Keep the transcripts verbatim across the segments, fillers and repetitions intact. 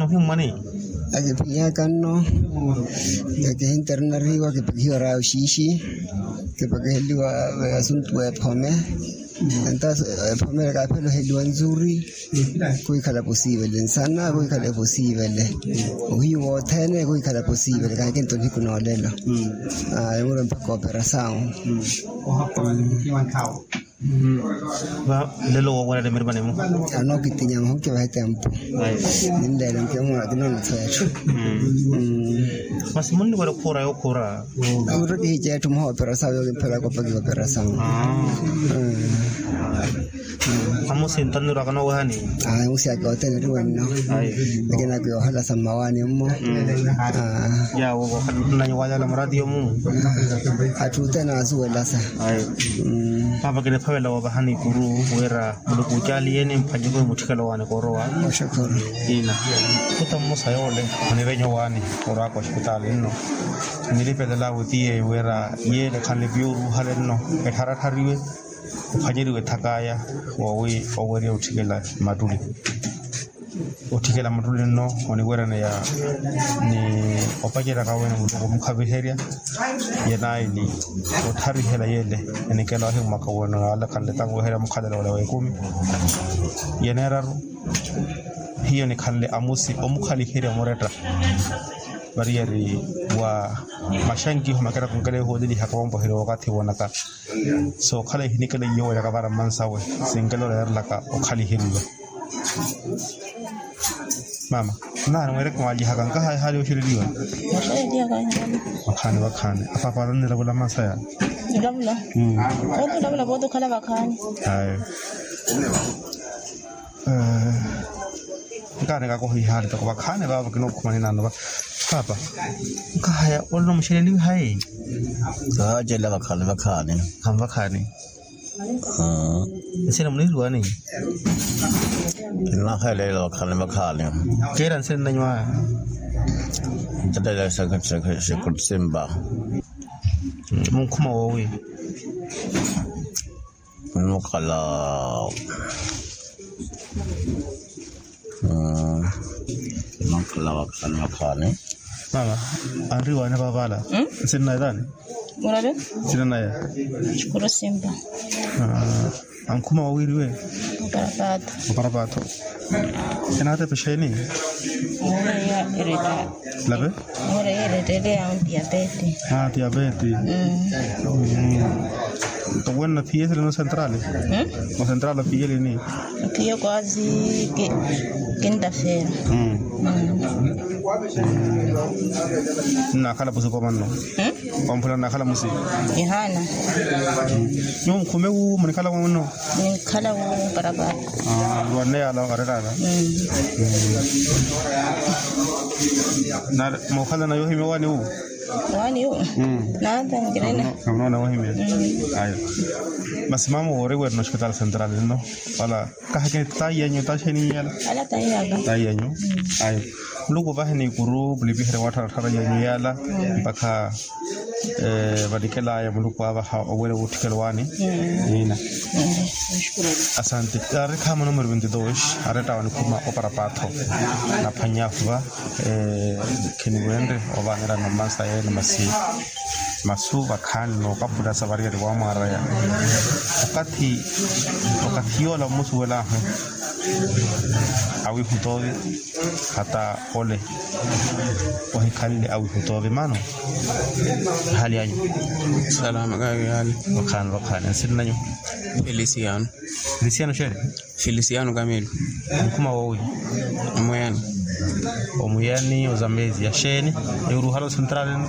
Ohimmwani. Akiphinyaka nno. Akihinterinariwa kipakihiwa raha oxiixi. Kipakiheliwa asuntu wa ephome. Entaso ephome kaapheloheliwa nzuri. Kuhikhala posiivele nsana kuhikhala posiivele. Ohiyu wothene kuhikhala posiivele kakinto nihiku noolelo. Emuro mpakha operasawu. Lelo woowerya nimirima nimu. Anookitinya muhuke vahe tempu. Ninleele nkimura kinoonotho etthu. Masi munniwerya okhuura yookhura. Amuttho kihica etthu muhoopera sawe yookimphela kopa kihoopera sawe. Amusi ntanirwaka nowehani. Amusi ake othene ri wenno. Lakini akiyoohala sa mmawaani mmo. Yawo nanyi wayala murati yomu. Atthu othene asuwelasa. Paapa kiniphavela woovahani ikuru wira muluku ocaaliye ni mphanyiko mutthikelo waani koorowa. Ina kuta mmosa yoole onivenyo waani orwaka ospitaali nno. Nilipelelaawe tiye wira yeele khanle piya oruuhale nno ettharathariwe. Ophwanyeriwe etthakaya woowi owerya otthikela mattuli. Otthikela mattuli nno oniweryaneya ni opaceryaka wene muluku omukhaviherya. Yenayi ni otharihela yeele enikela ohimmwaka wene alakhanle tanweherya mukhalelo ole w'ekumi. Yeneeraru hiyo nikhanle amusi omukhaliherya muretta. Variyari wa maxankiho makera kunkela ehoolelihaka wampoherya wakathi woonaka. Sookhala ehinikela iyowerya kavara mmansawe sinkela oleerelaka okhaliheriwa. Mama, nnaani mweereke mwaalyihaka nkahaya ehaali yooxereriwa. Vakhaani vakhaani apaapa alannilavula mmansaya. Nilavula. Vooti olavula vooti okhala vakhaani. Ayo. Nkaani kakohihaani toko vakhaani vaavo kinookhuma ninaano va. Paapa nkahaya olona muxeleliwe hayi. Kahaacela vakhaani vakhaani. Khanvakhaani. Nsina munihiluwani. Nnahelela vakhaani vakhaani. Keera nsina nnanyu aya. Ntatela sekutsimba. Munkhuma woowi. Nukhala. Nukhala vakhaani vakhaani. Mama anriwaani vavala. Nsinnaye taani? Murari. Nsinnaye. Xikuru simpa. Ankhuma wawiriwe. Oparapaatho. Oparapaatho. Enaatepe exeeni? Mureya eretta. Lape. Mureya eretta ele ya diapete. Diapete. Nto wenna phiye sili no central? No central phiye lini? Phiye kwasi. Kintafera. Nnakhala pusi komanno. Wamphula nnakhala musi. Ehana. Nyuwo mukhume wu munikhala mwanno? Munikhala wu parapara. Lwanne yala wakarerara. Nari mukhala na yohimya wani wu? Wani wu. Nata ngirena. Kamuna na wohimya. Ayo. Masi mama wori werina hospital central no wala? Kahakeni tayi yanyu taxeni yala. Ala tayi yaka. Tayi yanyu. Ayo. Muluku ovaheni ikuru mulipiherye wattharatthara yenyu yala mpakha vanikelaya muluku avaha owele wutthikelo wani. Nina. Asante. Ari khaama numero vinte dos. Aretta wanikhuma oparapaatho. Naphwanya afuva. Kheniwenre ovanerana mmansa yene masi. Masu vakhaani nookapula sa variyari wamwaraya. Okathi okathi yoola mmusuwelaahu. Awiihutoovi hata ole ohikhanle awiihutoovi mano. Hali anyu? Salama kavi hali. Vakhaani vakhaani nsinnanyu? Felisiano. Felisiano xeeni? Felisiano kamelo. Mukhuma woowi? Omuyani. Omuyani ozambezi yaxeeni? Niwuruhala osentralini.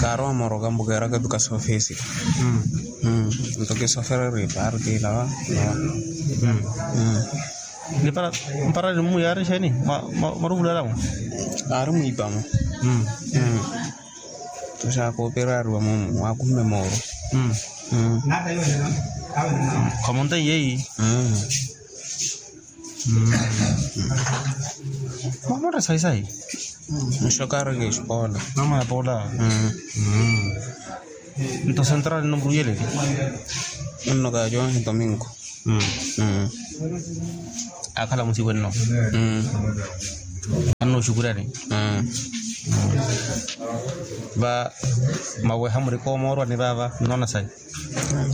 Kaaro amoroka mbukeeraka tuka sofesi. Nto kisofereri parti lawa. Nipara mpara ni mmuyaari xeeni? Mwaruvulelamu? Aari mwiipamo. Tuxaaka operariwa mumu waakumme mooro. Khamonta yeyi. Mwamonta sayi sayi. Nxokareke exikola. Mama ya poola. Nto central nno muruyeleke. Nno kajonhi domingo. Akhala musiwe nno. Shukurani. Va maweha murikooma orwani vaava nnoona sayi.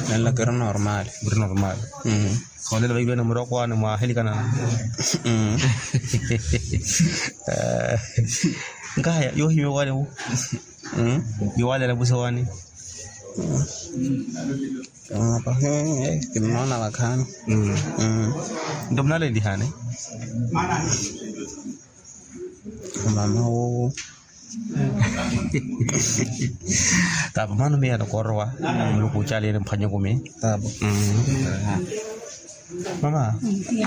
Nanlakero normal. Muri normal. Koolela vailwene murokwaani mwaahilikana. Nkahaya yoohimya owaani wu. Yowaalela musi owaani. Kinnoona vakhaani. Nto munalelihani. Mama wowo. Tapa mano miya nokorowa. Muluku uchaliyeni mphwanye kumi. Tapa. Mama.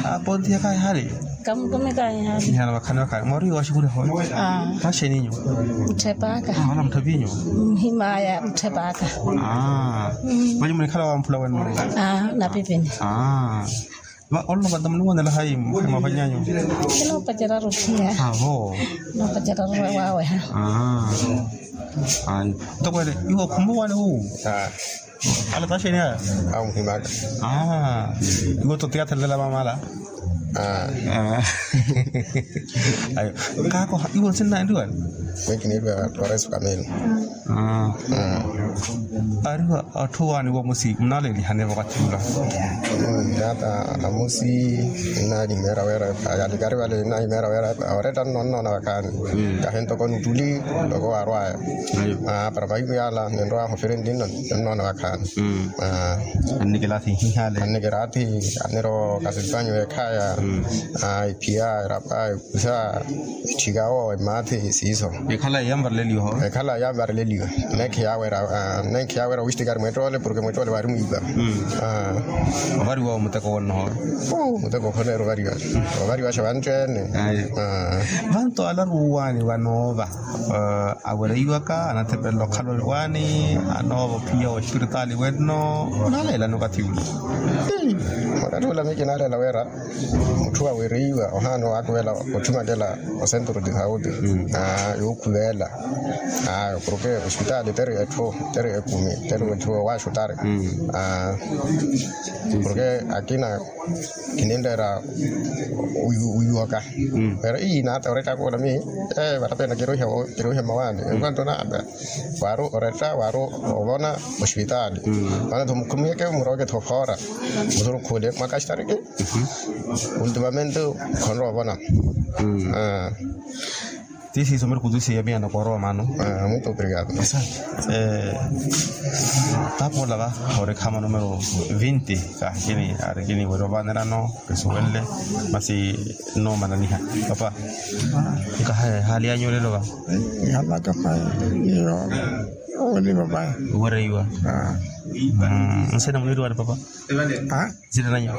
Apontiya kayi hali? Kamukumi kayi hali? Nihana vakhani vakhayi mwari washikuriho. Taxeninyu. Mutthepaka. Wala mutthepinyu. Mhimaya mutthepaka. Vanyu munikhala wamphula wenno. Napipini. Ololopanta muniwonela hayi mwapanyanyu? Kinoopacerya ruphiya. Avo. Noopacerya ruphiya waweha. Ayi. Ntokwene iwo khumuwani wu. Ala taxeni aya. Amuhimaka. Iwo totiyathellela mamala. Ayi. Kaako iwo nsinnaenriwani? Mwekineriwa. Toreso kamene. Ariwa atthu waani wamusi munalelihane vakathi ula? Nata amusi. Nnalimera wera. Alikari vale nnalimera wera. Oretta nnoona vakhaani. Kahi ntoko nutuli ntoko warwaya. Para vaivi yala nenrowa hofere ndinno nennoona vakhaani. Annikela athihi hale. Annikela athihi. Annirowa kasipanyu ekhaya. Iphiya erapa. Sa etthikawo emathi siiso. Ekhala yamvareleliwa ho. Ekhala yamvareleliwa. Nekhi yawera. Nekhi yawera wistikari mwettoole porke mwettoole waari mwiipa. Ovariwa omuteko wonnoho. Muteko okhoneera ovariwa. Ovariwa xa vantthu ene. Vanto alaruwani vanoova. Awereiwaka anathepelela okhala oliwani. Anoova ophiya wa espiritaali wenno. Naleelani okathi ula. Okathi ula mikinaleela wera. Mutthu awereiwa ohaana owakuvela otthumakela osenturu ti sauti. Yookhuvela. Porke ospitaali teri etthu teri ekumi teri etthu owaaxutari. Porke akina kininreera. Wiiwaka. Pero ii nata oretta kula mi. Varapeena kiruuhe mmawaani enquanto nata. Waaru oretta waaru ovona ospitaali. Vano tho mukhumiyeke murooke tho foora. Musurukhule mwakaxitari ki. Ultimamente khonrowa ovona. Ti siiso miri kutusiya miya nokoorowa mano. Muito obrigado. Tapola va orikha manumero vinti. Kahikini arikini weri ovanerano. Kisuwenle masi noomananiha. Papa nkaha ehali yanyu olelo va? Halaka pai. Iyo. Oweliva pai. Owereiwa. Nsina muniiriwani papa? Nsina nanyu?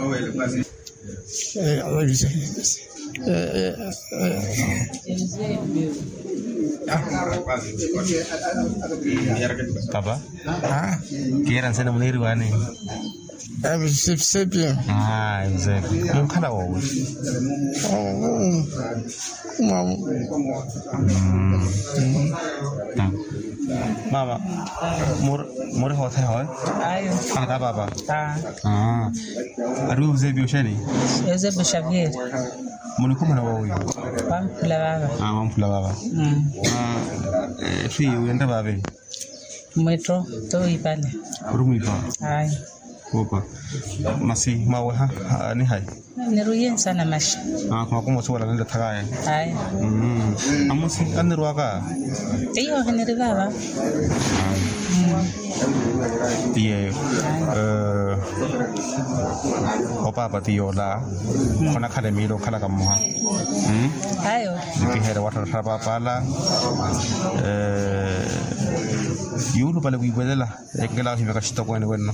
Papa. Kiira nsina muniiriwani? Evisepi. Munkhala woowi? Mama. Muri hootheha oyo? Ayo. Ana ka papa? Ari eusebio xeeni? Eusebio xavier. Munikhumela woowi? Wamphula vava. Wamphula vava. Etthu iye wiyenre vaavi? Mwetto. Towiipale. Ori mwiipa? Ayi. Opa. Masi mwaweha ni hayi? Niruiye nsana maxa. Khumwakumosiwala nile thakaya. Ayi. Amusi annirwaka? Iyo hiniri vava. Iyeyo. Opaapa ti yoola. Khonakhala emiili okhalaka mmoha. Ayo. Nikiheere watthattha paapala. Yuulupale wiiwelela. Enkela ohimyaka xitokweene wenno.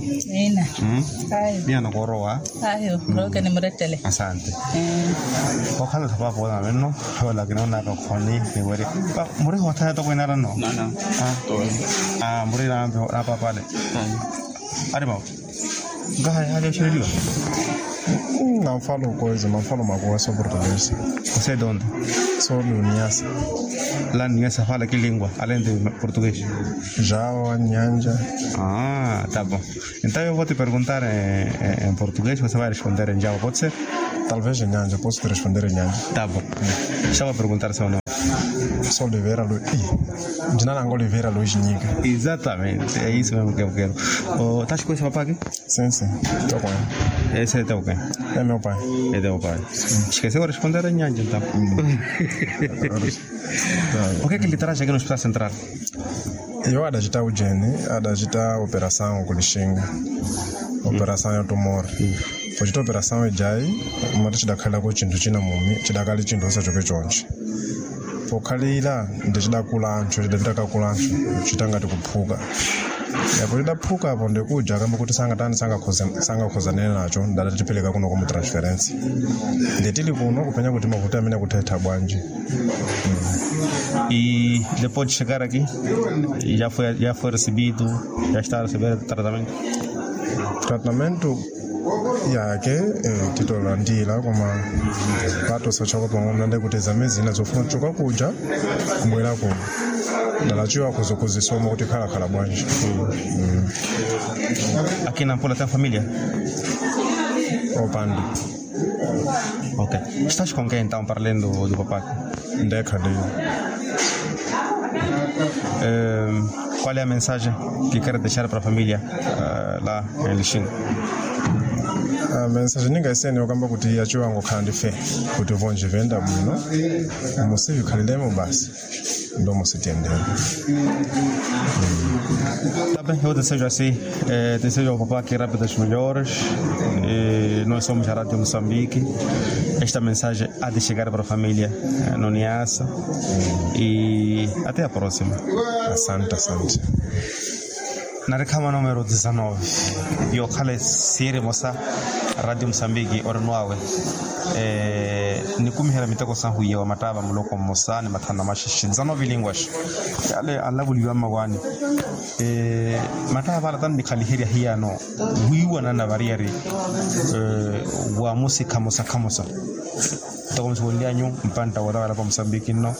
Miya nokoorowa. Ayo murooke nimurettele. Asante. Okhala thapaapa oona wenno. Ola kinoonaka okhoni niweri. Muri hoothaya tokweene aranno? Muri napaapale. Ari mama. Nkaha ehali oxereliwa? Namfalo koizi namfalo makuwa soportugesi. Osetonta. Solo niasa. La niasa fala ki lingua alente portugues? Jao anyanja. Ah, tá bom. Então eu vou te perguntar em, em, em português, você vai responder em jao, pode ser? Talvez em nyanja, posso te responder em nyanja. Tá bom. Deixa eu perguntar seu nome. Sou Oliveira Lu... Ih, jina langu Oliveira Luis Nyika. Exatamente, é isso mesmo que eu quero. Oh, tá com esse papá aqui? Sim, sim. Estou com ele. Esse é teu quem? É meu pai. É teu pai. Esqueceu de responder a nyanja, então. O que é que lhe traz aqui no Hospital Central? Iyo adacita ujeni, adacita operasawu ku Lixinga. Operasawu ya tumor. Ocita operasawu ejayi, mati cidakhalelaka ocintu cina mumi, cidakali cintu sosa coke conci. Pookhaliila nti cidakula ancu, cidavitaka kula ancu, citangati kuphuka. Yapo cidaphuka apo nti kuja akamba kuti sangataani, sangakhozanene naco ndala titipeleka kuno komu transferensi. Nti tili kuno kuphenya kuti mavuti amene akutthettha bwanji. I depois de chegar aqui, já foi, já foi recebido, já está a receber tratamento? Tratamento yake titola ndila koma patosa choko pango mnande kuti zamezina zofuna choka kuja kumwela kuno. Ndalachiwa kuzisoma kuti khalakhala bwanji. Aqui na pula tem família? Opandi. Ok. Estás com quem então, para além do, do papá? Ndekhaliyo. Qual é a mensagem que quer deixar para a família lá em Lixinga? Mensagem ninga iseni okamba kuti yachiwango khandi fe kuti vonji venda bwino. Musivikhalilemo basi. Ndomo sitiyendele. Também eu desejo assim, desejo ao papá que rápidas melhoras. Nós somos a Rádio Moçambique. Esta mensagem há de chegar para a família no niasa. E até a próxima. Asante, asante. Narikha ma numero dizanove. Yookhala esiiri emosa radio musambiki orinwawe. Nikumiherya miteko sahu iya wa mattaava muloko mmosa ni mathana maxixi dizanove linguas. Yale anlavuliwa mmawaani. Mattaava ala tannikhaliherya hiyano wiiwanana variyari. Wa musi khamosa khamosa. Ntoko musiwonlyanyu mpantta wootawala pa musambiki nno.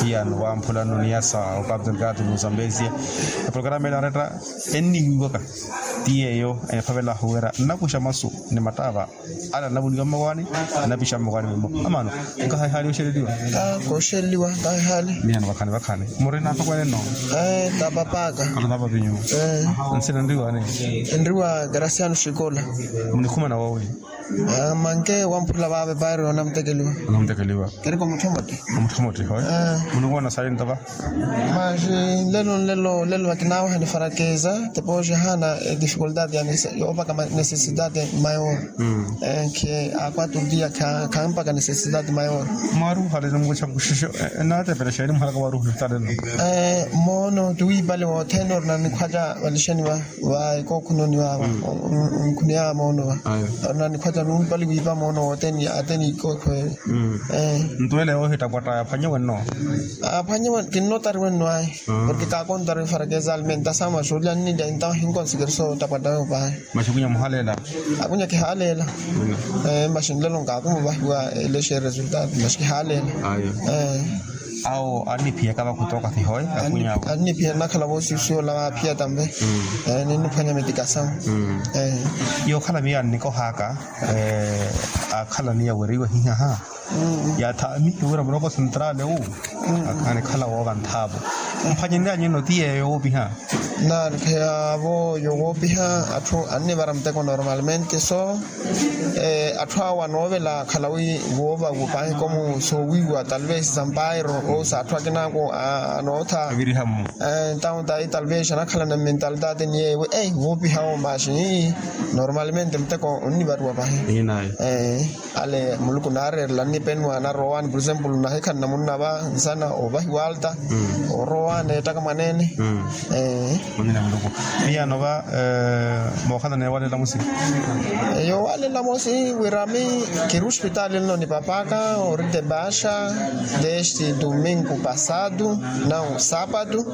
Hiyano wamphula nno niyasa opapto nikaati musambezia. Eprograma ela aretta enniwiiwaka. Ti yeeyo enfavelaahu wira nnakuxa masu ni mattaava. Ala nnavuliwa mmawaani. Nnapixa mmawaani mimmo amaano. Nkahayi haali oxeleliwa? Kooxeleliwa nkahayi haali. Miyano vakhani vakhani murina apakwene nno? Tatapaka. Ala tapapi nyuwo. Nsina nriwaani? Nriwa graciano xikola. Munikhumana woowi? Manke wamphula vaave paari onamutekeliwa. Onamutekeliwa. Keriko mutthomotti. Omutthomotti hoye. Munikuwana sayi ntava? Maxi nlelo nlelo lelo vakinaawaha ni farakeza tepoxi haana edifikultati ya yoopaka necesitati mayor. Nkhe akwatutiya khampaka necesitati mayor. Mwaruhale nunkuxa nkuxixo. Enatepela xeeni muhalaka waruhu talelo? Moono tiwiipale wothene orina nikhwaca valixeni va va ekookhunoni vava. Nkhuniya moono va orina nikhwaca numpali wiipa moono wothene ateni ikookho ele. Ntuwele yoohita pwatta aphwanyiwe nno? Aphwanyiwe kinnotari wenno ayi. Porke kaakontari farakeza alimentasamu axuulya nnilya entawo hinkonsikeriso ottapwatta yoopahe. Maxi kunya muhaleela? Akunya kihaleela. Maxi nlelo nkaakumu vahiwa elexe resultado maxi kihaleela. Awo anniphiyaka vakhutoka fihoye. Anniphiyaka nnakhala voosiusiwa ola vaaphiyata mve. Ninniphwanya mitikasamu. Yookhala miyo annikohaka akhala niya weriwe hihaha. Yathaamihi wira muloko sentrale wu. Anikhala woova nthaapo. Mphwanyenryanyeno ti yeeyo woopiha? Nanikheya vo yowoopiha atthu annivara muteko normalmente so. Atthu awo anoovela akhala wi woova wupahi komu soowiiwa talvez sampairo osa atthu akinaako anootha. Entawo tayi talvez anakhala na mentalidade ni yeewe ei woopiha wo maxi. Normalmente muteko onnivariwa pahi. Ale muluku naareerela nnipenwa narowaani por exemplo nahikhanna munna va nsana ovahiwa alta. Orowaani ettaka mwaneene. Miyaano va, mookhana neewalela musi. Yoowalela musi wira ami kiri ospitaali nno ni papaaka orite baaxa desde domingo pasado, nau sapatu.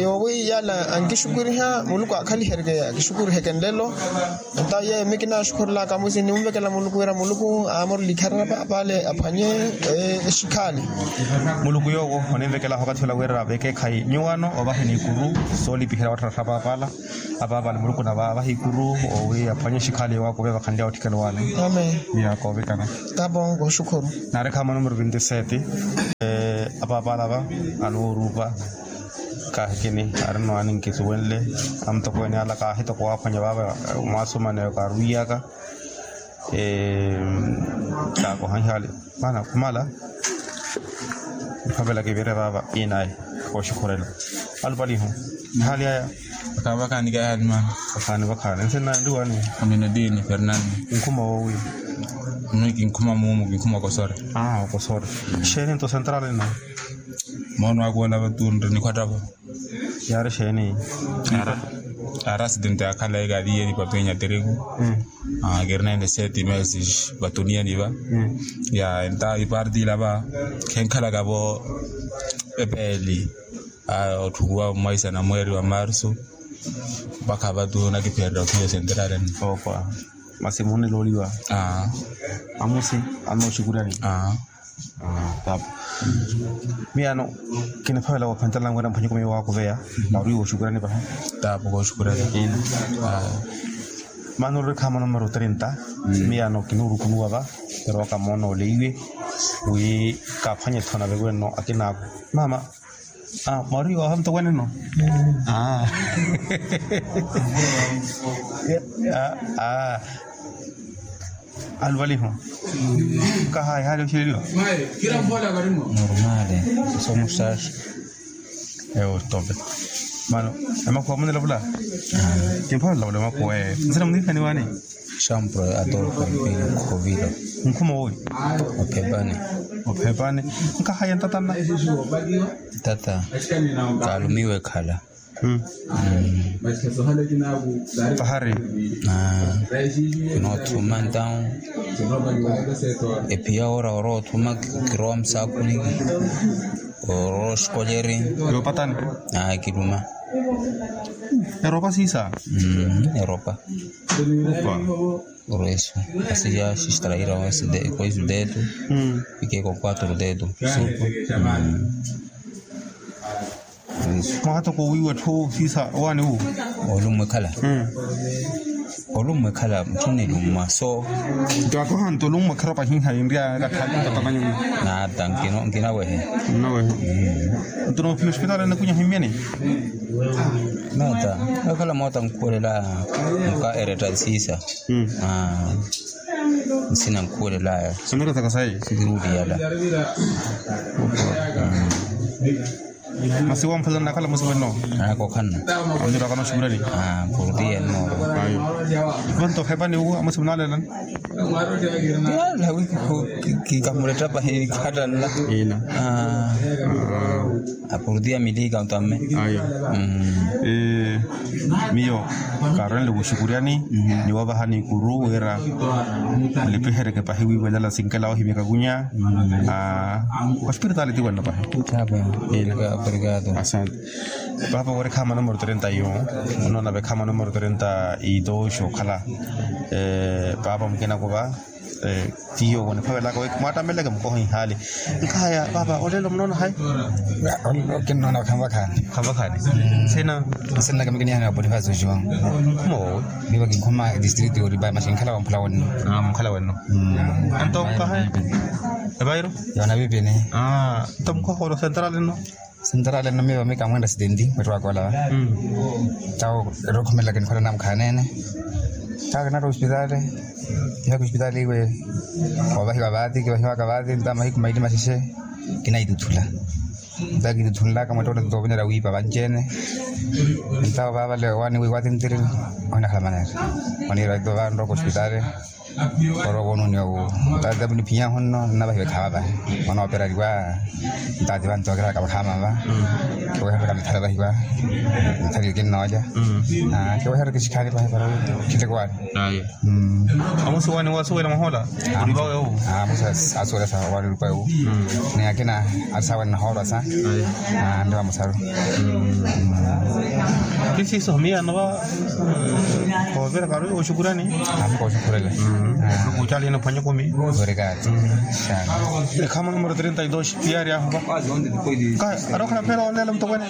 Yoowi yala ankixukuriha muluku aakhaliherye akixukuriheke nlelo. Entawo yeeyo mi kinaaxukhurelaka musi ninvekela muluku wira muluku aamurele ikharara papaale aphwanye exikhaali. Muluku yoowo oninvekelaha wakathi ola wira avekeekhayi nyuwano ovahe ni ikuru soolipiherya wattharattha papaala. Apaapale muluku navahe ikuru owi aphwanye exikhaali yoowakuve vakhanlya otthikela owaale. Amen. Miyaako ovikana. Tapo nkooxukhuru. Naari khaama numero vinti sete. Apaapale ava anoorupa. Kaahikini arino ani nkisuwenle. Amutokweene ala kaahitoko waaphwanya vaava mwaasumana eyo kaarwiiyaka. Kaakoha ihaali maana khumala. Niphavela kivire vaava inaye. Kooxikhurela alupalihu ihaali aya. Vakhaani vakhaani kaahani maana. Vakhaani vakhaani nsina ndiwani. Aminadini fernando. Nkhuma woowi. Mwi kinkhuma muumu kinkhuma okosore. Okosore. Xeeni nto central ino. Moono akuwela vatunre nikhwattavo. Yaari xeeni? Ara asidente akhala ekaviye ni papenya teriku. Kirinene seti meses vatuniyeni va. Ya enta iparti ila va khenkhalaka vo. Epeeli otthukuwa mwaisana mweeri wa marsu. Mpakha vatu nakiphererya othiya osenterareni. Masi munnilooliwa. Amusi anooxukuryani. Tapu. Miyaano kiniphavela woophentela nkwera mphwanyuko miyo waakuveya. Naari wooxukuryani pahi. Tapu kooxukuryani. Maana oruri khaama numero trinta. Miyaano kinuurukunuwa va. Erowaka moona oleiwe wi kaaphwanye thona vewenno akinaaku. Mama. Mwari waha mutokweene no. Aluvaliho. Kahayi hali oxeleliwa. Normale. Somuxaxi. Ewo tope. Mano emakhuwa munelavula. Kimphola lavula emakhuwa. Nsina munikhaniwani. Xampuro adolfo mpini khovilo. Nkhuma owi. Ophepani. Ophepani. Nkahaya ntatanna. Tata. Kaalumiwe ekhala. Pahari. Kinoothuma ntawu. Ephiya ora oroothuma kirowa musaakhuni. Orooxikolyeri. Yoopatani. Kiluma. Eropa siisa. Eropa. Oresu. Asiya xixtaraira. Koisu detu. Ikeko quatro detu. Mwaha toko owiiwa etthu siisa owaani wu. Olummwa ekhala. Olummwa ekhala mutthu nilummwa so. Nto akoha nto olummwa ekhala pahinha yinriya. Nata nkinawehe. Nto noophiya ospitaali anakunya ohimmyani. Mata. Ekhala moota nkhuwelela. Muka eretta siisa. Nsina nkhuwelelaya. Simirotaka sayi. Sikiruuliyala. Masi wamphwela nnakhala musiweno. Kokhanna. Amirakana oxukulani. Porutiya nno. Vanto okhepani uwo amusi munaalelani. Kikamuletta pahi khattannla. Ina. Apurutiya milika ontamme. Ayo. Miyo kaarenle wuxukuryani. Ni wavahani ikuru wira nlipiheryeke pahi wiiwelala sinkela ohimyaka kunya. Ospiritaali ti wenno pahi. Asante. Paapa wari khaama numero trenta y un. Onoona ve khaama numero trenta y dos okhala. Paapa mukina kuva. Tiyo oniphavelaka wi mwaattammeleke mukoha ihaali. Nkhaya paapa olelo munoona hayi? Olelo kinnoona khanvakhaani. Khanvakhaani. Nsina? Nsinaka mikinihana wa boniface oxiwanga. Khuma wowi? Miva kinkhuma district oriba masi nkhala wa mphula wenno. Mphula wenno. Anto mukoha? Evairo? Yona vipini. Anto mukoha olo central enno? Central enno miva mikamwenda sitendi mwettowaka olava. Tawo erokhumelela kinkhola namukhaanene. Tawo kinari ospitaali. Kihaka ospitaali iwe. Wavahiwa vaati kivahiwaka vaati nta mahiku maili maxexe. Kinaituthula. Nta kituthunlaka mwettowaka nto ovinera wiipa vanci-ene. Ntawo vaavale owaani wiiwa tintiriri. Ohinakhala maneera. Oniira ito vanroko ospitaali. Orowa onuniya owo. Ntaati vapo niphinyaahu nno nnavahiwa ekhaava vahi. Onooperariwa. Ntaati vantokeraka vakhaama va. Kiwehereraka mithala vahiwa. Mithala yokinnoolya. Kiwehereraka exikhaani vahi para. Khittekwani. Amusi wani wasuwela mwahola? Oliva wewu. Amusi asuwela sa wani oliva wewu. Ni akina ati sawa nnahoolwa sa. Ndi vamusaru. Kisiso miya nova. Koverekaru oshukurani. Amiko oshukurela. Kucali ino phwanya kumi. Obrigado. Ekhama numero trinta y dos tiyari ahova. Ka arokhala phela olela mutokweni.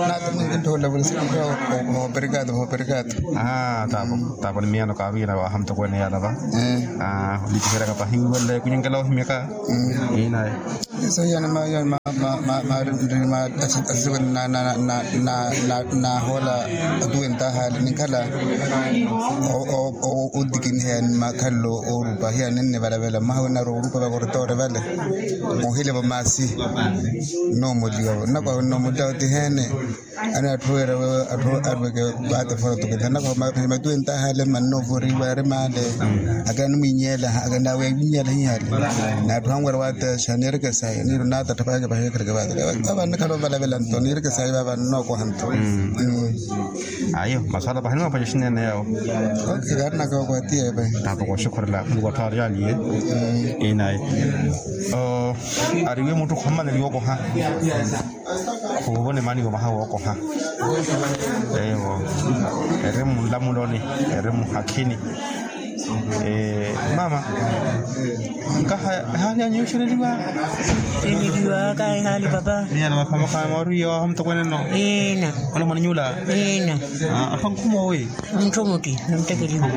Nata ninthola vulisi mutokweni. Obrigado, obrigado. Tapo tapo ni miyano kaarwiyana vaha mutokweni yalava. Likiheraka pahi wiwele kunyenkela ohimyaka. Inaye. Eso hiya ni maari nrima. Asisiwe nahoola atuwentahali ninkhala otikiniheya ni makhalelo oorupa hiya ninnivalavela mmaha winarwa orupa vakoritoore vale. Ohilevo maasi. Nnoomoliwavo nnakwaha nnoomoliwavo tiheene. Ani atthu weera atthu arweke. Vaate fora tukitha nnakwaha matuwentahale mannoovoriwa ari maale. Akanimwinyeela akanaawe awiinyeela hihale. N'atthu anwera waatexa niireke sayi niiro naatattha pahi ekepahi ekhereke vaate. Vava nnikhala ovalavela nto niireke sayi vava nnookoha nto. Ayo maswala pahi nimapaca oxinene yawo. Kaari nakookoha tiye pahi. Tapo kooxukhurela muluku atthu aari aliye. Inaye. Ariwe mutthu khumaneliwa okoha. Khuuvona emaaniwa maha wookoha. Ewo. Eri munlamuloni. Eri muhakhini. Mama. Nkaha ehaali anyu yoxereliwa? Ereliwaka ehaali papa. Niyana makhamakha mwaruiya waho mutokweneno. Ina. Ola mwananyula. Ina. Apha nkhumowe. Mutthu mutti namuttekeliwa.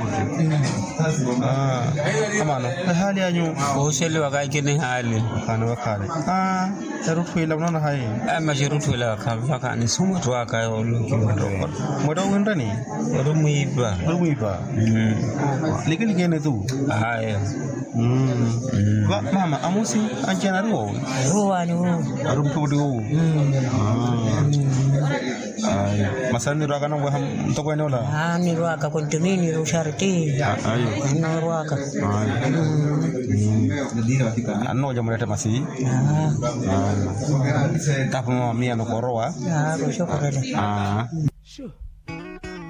Amano ehaali anyu. Oxereliwaka ekina ehaali. Khani wekhale. Erutthu ila munoona hayi? Ama xerutthu ila vakhaani sumwetto aka. Mwetta owinreni? Ori mwiipa. Ori mwiipa. Likelike ene tu. Ayo. Mama amusi anci-ene ari woowi? Ari wowaani woowi. Ari mutthukutthi woowi. Masi annirwaka anamweha mutokweene ola? Annirwaka kontomini ruxarti. Ayo. Annorwaka. Annoolya muletta masi. Tapo mama miyano koorowa. Aa.